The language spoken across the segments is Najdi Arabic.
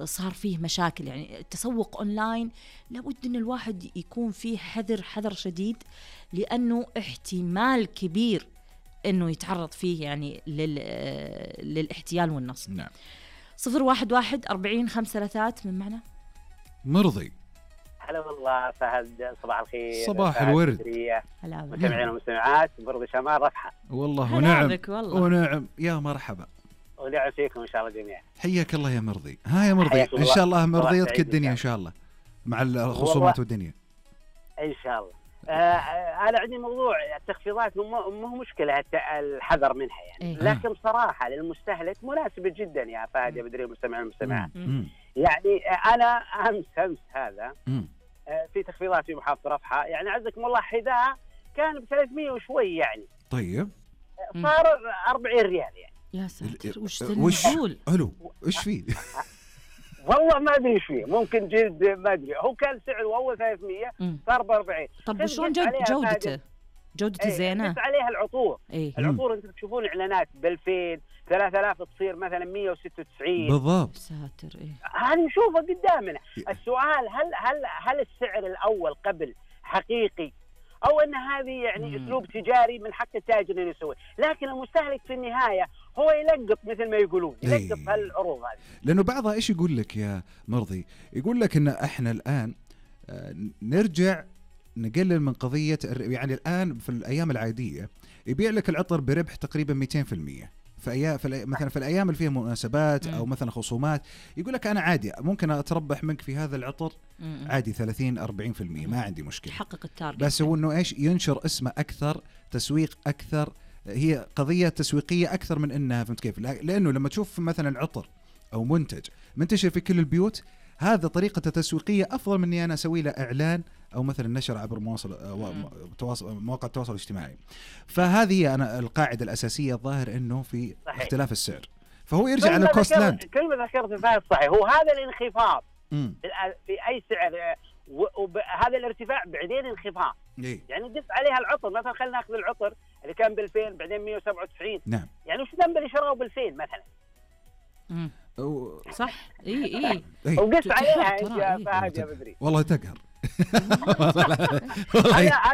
صار فيه مشاكل. يعني التسوق أونلاين لابد أن الواحد يكون فيه حذر شديد، لأنه احتمال كبير أنه يتعرض فيه يعني للاحتيال والنصب. نعم. 011-40-533 من معنا مرضي. هلا والله فهد، صباح الخير. صباح الورد. هلا مستمعين ومستمعات، مرضي شمال رفحة. والله ونعم يا مرحبا، ونعم فيكم إن شاء الله جميعا. حياك الله يا مرضي. ها يا مرضي، إن شاء الله مرضيتك الدنيا إن شاء الله مع الخصومات والدنيا إن شاء الله. أنا عندي موضوع التخفيضات، مو مشكلة الحذر منها يعني، لكن بصراحة للمستهلك مناسبة جدا يا فهد يا بدري المستمعين والمستمعات. يعني أنا أمس هذا في تخفيضات في محافظة رفحة، يعني عزكم الله حذاء كان ب300 وشوي يعني، طيب صار 40 ريال يعني. يا ساتر، وش حلو، وش فيه؟ والله ما أدري إيش فيه، ممكن جلد ما أدري. هو كان سعره أول 300 صار ب40. طب وشون جودته زينة؟ بس عليها العطور. العطور أنت تشوفون إعلانات ب2000 3000 تصير مثلا 196 بالضبط. ساتر هذه نشوفها قدامنا. السؤال هل السعر الأول قبل حقيقي، أو أن هذه يعني أسلوب تجاري من حق التاجر اللي يسوي، لكن المستهلك في النهاية هو يلقط مثل ما يقولون، يلقط هالعروض هذه. لأنه بعضها إيش يقول لك يا مرضي؟ يقول لك إن إحنا الآن نرجع نقلل من قضية، يعني الآن في الأيام العادية يبيع لك العطر بربح تقريبا 200%. مثلا في الأيام اللي فيها مناسبات أو مثلا خصومات يقول لك أنا عادي ممكن أتربح منك في هذا العطر عادي 30-40%، ما عندي مشكلة، حقق التارجت. بس هو إنه إيش ينشر اسمه أكثر، تسويق أكثر، هي قضية تسويقية أكثر من إنها، فهمت كيف؟ لأنه لما تشوف مثلا العطر أو منتج منتشر في كل البيوت، هذا طريقة تسويقية أفضل من إني أنا أسوي له إعلان أو مثلا نشر عبر مواقع التواصل الاجتماعي. فهذه أنا القاعدة الأساسية الظاهر إنه في صحيح. اختلاف السعر، فهو يرجع على كوستلاند. كلمة ذكرت فيها صحيح، هو هذا الانخفاض في أي سعر، وهذا الارتفاع بعدين انخفاض. يعني قف عليها العطر، مثلا خلينا ناخذ العطر اللي كان ب2000 بعدين 197. نعم. يعني وش ذنب اللي شروه ب2000 مثلا؟ صح. اي وقف عليها يا فهد يا بدري. والله تقهر.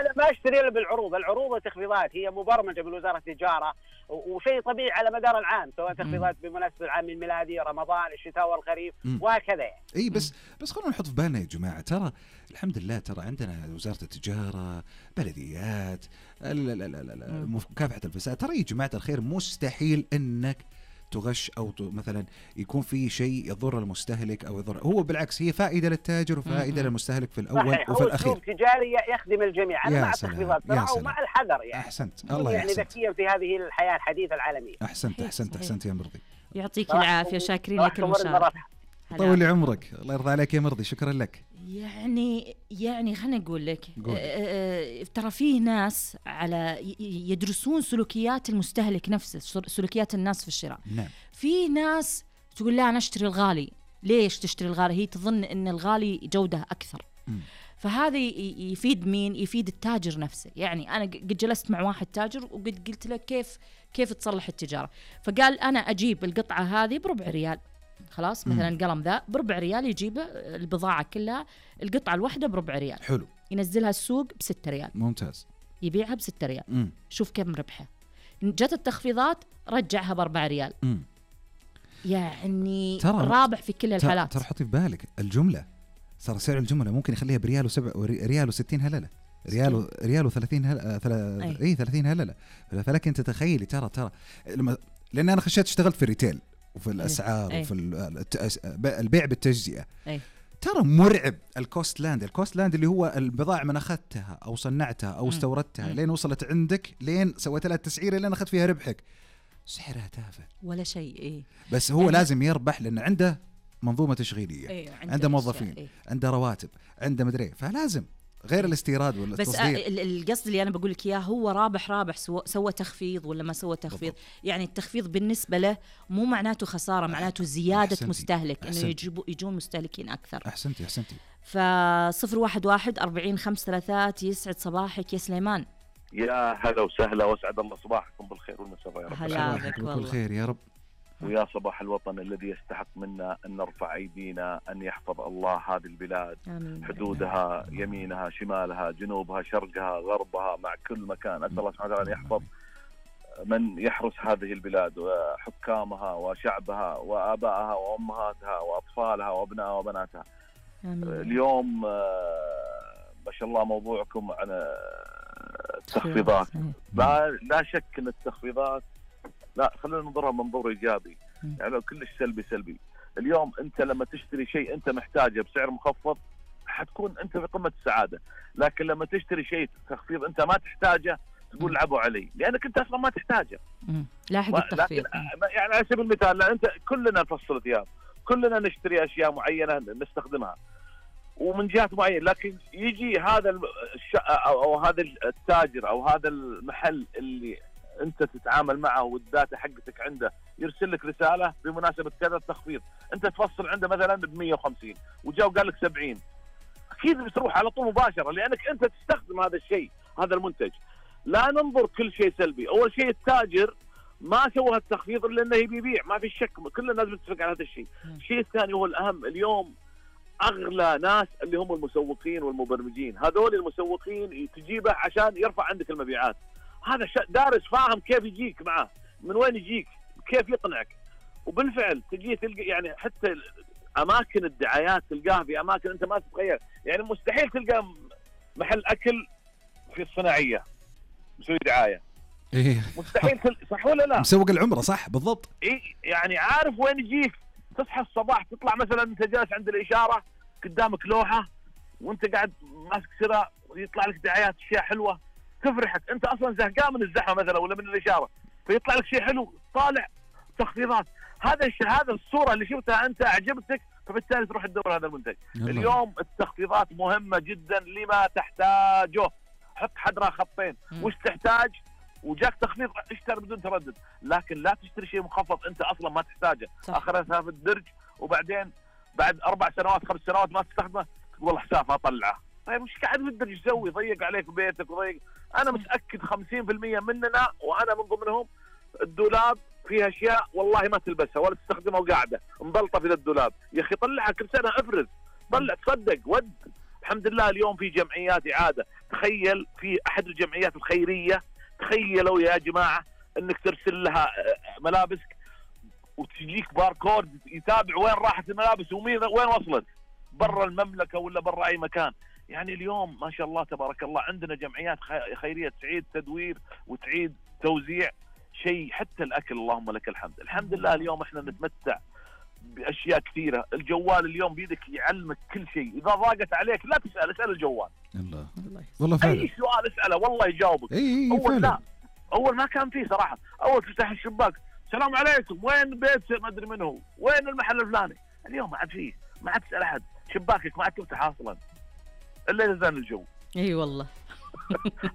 أنا ما أشتري إلا بالعروض. العروض والتخفيضات هي مبرمجة بالوزارة التجارة، وشيء طبيعي على مدار العام، سواء تخفيضات بمناسبة العام الميلادي، رمضان، الشتاء والخريف وهكذا يعني. اي بس خلونا نحط في بالنا يا جماعة، ترى الحمد لله ترى عندنا وزارة التجارة، بلديات، مكافحة الفساد، ترى يا جماعة الخير مستحيل انك تغش أو مثلا يكون في شيء يضر المستهلك أو يضر، هو بالعكس هي فائدة للتاجر وفائدة للمستهلك في الأول وفي الأخير. هو تجاري يخدم الجميع. أنا مع التخفيضات ومع الحذر يعني. أحسنت الله يعني ذكيا في هذه الحياة الحديثة العالمية. أحسنت يا مرضي. يعطيك العافية، شاكرين لك المشاركة. طول عمرك، الله يرضى عليك يا مرضي، شكرا لك. يعني خلينا نقول لك ترى فيه ناس يدرسون سلوكيات المستهلك نفسه، سلوكيات الناس في الشراء. نعم. في ناس تقول لا أنا أشتري الغالي. ليش تشتري الغالي؟ هي تظن إن الغالي جودة أكثر. فهذا يفيد مين؟ يفيد التاجر نفسه. يعني أنا قد جلست مع واحد تاجر وقد قلت له كيف تصلح التجارة، فقال أنا أجيب القطعة هذه ب4 ريال، خلاص مثلا القلم ذا ب4 ريال، يجيب البضاعة كلها القطعة الواحدة ب4 ريال، حلو، ينزلها السوق ب6 ريال، ممتاز، يبيعها ب6 ريال. شوف كم ربحه. جت التخفيضات رجعها ب4 ريال. يعني رابح في كل الحالات. ترى حطي في بالك الجملة، صار سعر الجملة ممكن يخليها بريال ريال و60 هللة، ريال و30 هللة، 30 هللة. فلك انت تتخيلي ترى لان انا خشيت اشتغلت في الريتيل وفي الاسعار وفي البيع بالتجزئة. ترى مرعب الكوست لاند اللي هو البضائع من اخذتها او صنعتها او استوردتها لين وصلت عندك، لين سويت لها التسعيره لين اخذت فيها ربحك، سعرها تافه ولا شيء. بس هو لازم يربح لان عنده منظومه تشغيليه، عنده موظفين، عنده رواتب، عنده مدري، فلازم غير الاستيراد والتصدير. بس القصد اللي أنا بقول لك إياه هو رابح سوى تخفيض ولا ما سوى تخفيض. يعني التخفيض بالنسبة له مو معناته خسارة، معناته زيادة مستهلك، إنه يجون مستهلكين أكثر. أحسنتي. ف011-40-533. يسعد صباحك يا سليمان. يا هلا وسهلا، واسعد الله صباحكم بالخير والمساء يا رب. هلا بك والله. بالخير يا رب. ويا صباح الوطن الذي يستحق منا أن نرفع أيدينا أن يحفظ الله هذه البلاد، حدودها، يمينها، شمالها، جنوبها، شرقها، غربها، مع كل مكان. أسأل الله سبحانه وتعالى أن يحفظ من يحرس هذه البلاد وحكامها وشعبها وآبائها وأمهاتها وأطفالها وأبنائها وبناتها. اليوم ما شاء الله موضوعكم عن التخفيضات. لا شك أن التخفيضات لا، خلينا ننظرها منظور إيجابي، يعني لو كلش سلبي. اليوم أنت لما تشتري شيء أنت محتاجه بسعر مخفض حتكون أنت في قمة السعادة، لكن لما تشتري شيء تخفيض أنت ما تحتاجه تقول لعبوا علي، لأنك أنت أصلا ما تحتاجه. لاحق التخفيض. يعني على سبيل المثال، لا أنت كلنا نفصل ثياب، كلنا نشتري أشياء معينة نستخدمها ومن جهات معينة، لكن يجي هذا أو هذا التاجر أو هذا المحل اللي أنت تتعامل معه والداتا حقتك عنده يرسل لك رسالة بمناسبة كذا التخفيض، أنت تفصل عنده مثلا ب150 وجاء وقال لك 70، أكيد بتروح على طول مباشرة لأنك أنت تستخدم هذا الشيء، هذا المنتج. لا ننظر كل شيء سلبي. أول شيء التاجر ما سوى التخفيض إلا أنه يبي يبيع، ما في شك، كل الناس بتتفق على هذا الشيء. الشيء الثاني هو الأهم، اليوم أغلى ناس اللي هم المسوقين والمبرمجين، هذول المسوقين تجيبه عشان يرفع عندك المبيعات. هذا دارس فاهم كيف يجيك معه، من وين يجيك، كيف يقنعك. وبالفعل تجي تلقى يعني حتى أماكن الدعايات تلقاها في أماكن أنت ما تتخيل، يعني مستحيل تلقى محل أكل في الصناعية مسوي دعاية. إيه مستحيل صح ولا لا؟ مسوق العمرة صح بالضبط. إيه يعني عارف وين يجيك. تصحى الصباح تطلع مثلا أنت جالس عند الإشارة قدامك لوحة وأنت قاعد ماسك سرة ويطلع لك دعايات أشياء حلوة تفرحك، أنت أصلا زهقان من الزحمة مثلا ولا من الإشارة، فيطلع لك شيء حلو طالع تخفيضات. هذا الصورة اللي شفتها أنت أعجبتك، فبالتالي تروح تدور هذا المنتج. اليوم التخفيضات مهمة جدا لما تحتاجه. حط حدرها خطين، وش تحتاج وجاك تخفيض اشتري بدون تردد، لكن لا تشتري شيء مخفض أنت أصلا ما تحتاجه، آخرها في الدرج، وبعدين بعد 4 سنوات 5 سنوات ما تستخدمه والله حساب أطلعه. طيب وش قاعد في الدرج يسوي؟ ضيق عليك بيتك وضيق. أنا متأكد 50% مننا وأنا من ضمنهم الدولاب فيها أشياء والله ما تلبسها ولا تستخدمها وقاعدة مبلطة في الدولاب. يا أخي طلعها كل سنة، افرز، طلع، تصدق، ود. الحمد لله اليوم في جمعيات إعادة. تخيل في أحد الجمعيات الخيرية، تخيلوا يا جماعة أنك ترسل لها ملابسك وتجيك باركود يتابع وين راحت الملابس وين وصلت، برا المملكة ولا برا أي مكان. يعني اليوم ما شاء الله تبارك الله عندنا جمعيات خيرية تعيد تدوير وتعيد توزيع شيء، حتى الأكل اللهم لك الحمد. الحمد لله اليوم احنا نتمتع بأشياء كثيرة. الجوال اليوم بيدك يعلمك كل شيء، إذا ضاقت عليك لا تسأل، اسأل الجوال. الله والله فعلا. أي سؤال اسأله والله يجاوبك. أول لا، أول ما كان فيه صراحة. أول تفتح الشباك السلام عليكم، وين بيت ما أدري منه، وين المحل الفلاني. اليوم ما عاد فيه، ما عاد تسأل أحد، شباكك ما عاد تفتح أصلا إلا إذا زان الجو. أي والله.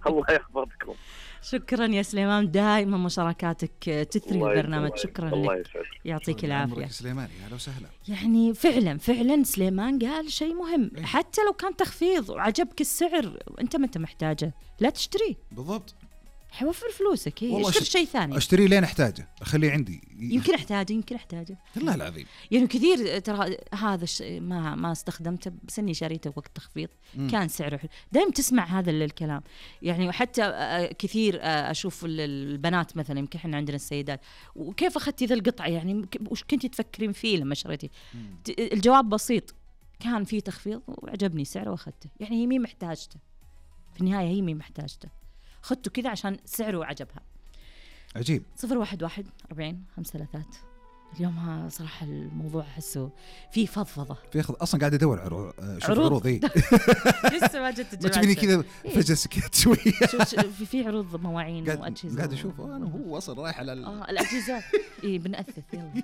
الله يحفظكم. شكرا يا سليمان، دائما مشاركاتك تثري البرنامج. شكرا لك، يعطيك العافية سليمان. يا لو سهلا. يعني فعلا سليمان قال شيء مهم. حتى لو كان تخفيض وعجبك السعر انت ما انت محتاجه لا تشتريه. بالضبط، حوفر فلوسك، اشتري شيء ثاني. اشتري لين احتاجه، اخليه عندي. يمكن احتاجه والله العظيم. يعني كثير ترى هذا الشيء ما استخدمته، بس اني شريته وقت تخفيض كان سعره حلو. دائما تسمع هذا الكلام يعني. وحتى كثير اشوف البنات مثلا، يمكن احنا عندنا السيدات، وكيف اخذتي ذا القطعه يعني، وش كنتي تفكرين فيه لما شريتي؟ الجواب بسيط، كان في تخفيض وعجبني سعره واخذته. يعني هي مين محتاجته في النهايه، هي مين محتاجته، خدته كذا عشان سعره وعجبها. عجيب. 011 40 53. اليوم ها صراحة الموضوع أحسه فيه فضفضة، في أصلا قاعد أدور عروض لسه ما جت الجماعة. تبيني كذا فجأة سكت شوية. في عروض مواعين وأجهزة قاعد أشوف أنا هو وصل رايح على الأجهزة. إيه بنأثث يلا.